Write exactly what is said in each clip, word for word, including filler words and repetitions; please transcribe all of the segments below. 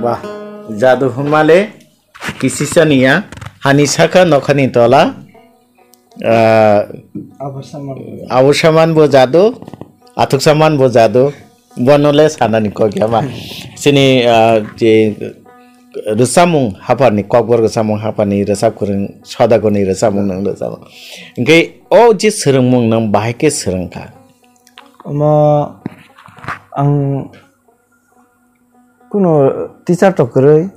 Wah, jadu hwnmale kisisa niya, hani saka nokhani tola, ah, Abar saman. Abo saman bo jadu, athuk saman bo jadu, bono le sanani kok ya ma. Sini, ah, je rwchapmung haphar ni, kokborok rwchapmung haphar ni rwchap kwrwng, Sodagoni rwchapmung nang rwchapmung. Hwnkhe o je swrwngmung nang bahai khe swrwngkha? Omo ang kuno teacher to kwrwi,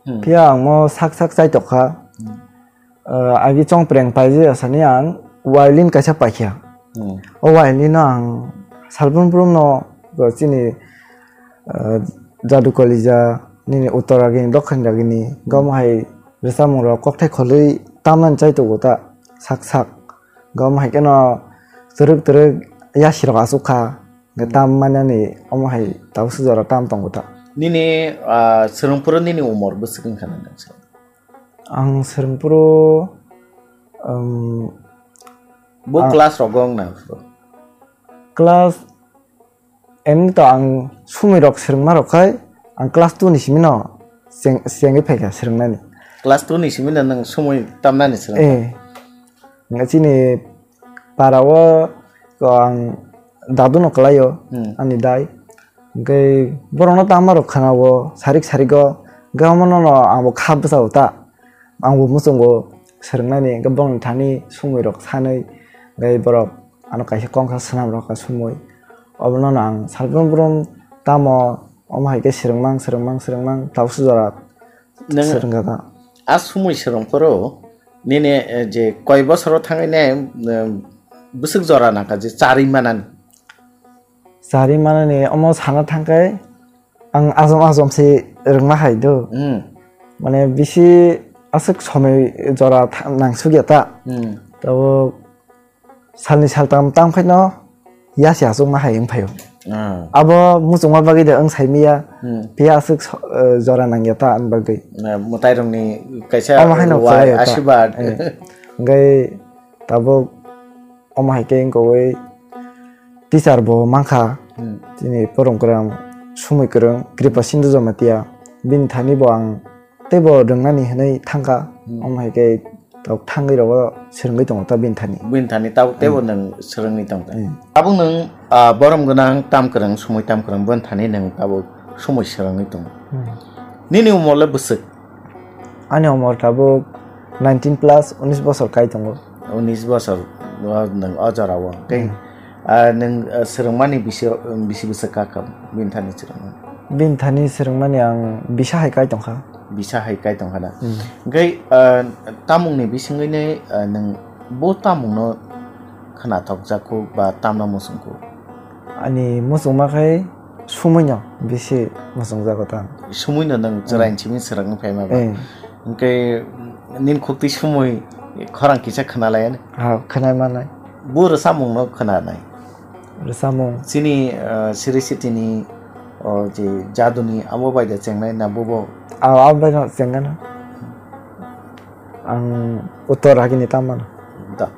Hmm. phiya ang mo sak sak chai tokha. Hmm. Ah, agi chongpreng paijak sani ang violin kaisa paikha. Hmm. O violin no ang salbrum brum no, bo chini, ah, jadu kolija nini uttor agini, dokhin agini, Hmm. gom hai rwchapmung rok kokthai kholwi tamnani chai tongo ta sak sak. Gom hai kheno twrwk twrwk yasi rok achuk kha. Hwnkhe tam manani omo hai tabuk swk jora tam tongo ta. Nini, ah, swrwngphuru nini umor bwswk wngkha nang? Ang swrwngphuru, um, Bo ang class rogo wngna phuru? Class, emni to ang sumui rok swrwngma rok khai, ang class two ni simi no cheng-, chengwi phaikha swrwngnani. Class two ni simi no nwng sumui tamnani swrwngkha? Eh. Hwnkhe chini para o ko ang dadu no kwlaio, Hmm. ani dai. Hwnkhe borokno tama rok khna o sarik sarik o, hwnkhe omo no no ang bo kha bwsa o ta, ang bo muchungo swrwngnani, hwnkhe borokni thani sumui rok sanwi, hwnkhe borok ano kaisa kongkha swnam rok kha sumui, obono no ang salbrum brum tamo omo hai khe swrwngmang swrwngmang swrwngmang tabuk swk jora Nwng swrwngkha ta. A sumui swrwngphuru nini, eh, je koi bosoro thangwi ne, eh, bwswk jora nangkha je charwi manani? Charwi manani omo sana thangkhe ang ajom ajom se rwngna hai do. Hmm. Mane bisi aswk somoi jora tha-, nangsukya ta. Hmm. Tabuk salni saltam tang phaino yasi achukma hai wng phaio. Ah. Abo muchungma bagwi de wng saimiya, Hmm. phiya aswk so-, eh, jora nangya ta ani bagwi. Na, mwtairokni kaisa Omo haino wai kwlai ta. Asirwad. Eh. Hwnkhe tabuk omo hai khe wngkha wi teacher bo mankha. Hmm. Chini porong kwrwng, sumui kwrwng, Kripa Sindhu Jamatia. Bini thani bo ang teibo rwngnani hwnwi thangkha, Hmm. omo hai khe tok thangwi rogo swrwngwi tongo ta bini thani. Bini thani tabuk teibo Hmm. nwng swrwngwi tongkha. Hmm. Tabuk nwng, ah, borom gwnang tam kwrwng, sumui tam kwrwng, bini thani nwng tabuk sumui swrwngwi tongo. Hmm. Nini umor le bwswk? Ani umor tabuk nineteen plus, unis bosor kai tongo. Unis bosor o nwng o jora o. Tei, Hmm. ah, nwng, ah, swrwngmani bisi, bisi bwswk kha kha bini thani swrwngmani? Bini thani swrwngmani ang bisa hai kai tongkha. Bisa hai kai tongkha na? Hmm. Hwnkhe, ah, tamungni bisingwino, ah, nwng bo tamungno khnathokjakhu ba tamno muchungkhu? Ani muchungma khai sumuino bisi muchungjago ta. Sumuino nwng Hmm. chwraini simi swrwngwi phaima ba? Eh. Hwnkhe nini khuktwi sumui khorang kisa khwnalaiya ni? Ha, khwnai manai. Bo rwchapmungno khwnanai? Rwchapmung. Chini, ah, Sri Sitini, o, je jaduni abo bai da chengnai na bobo? Ah, abo bai no chengnai na. Ang uttor agini tamo mano. Da.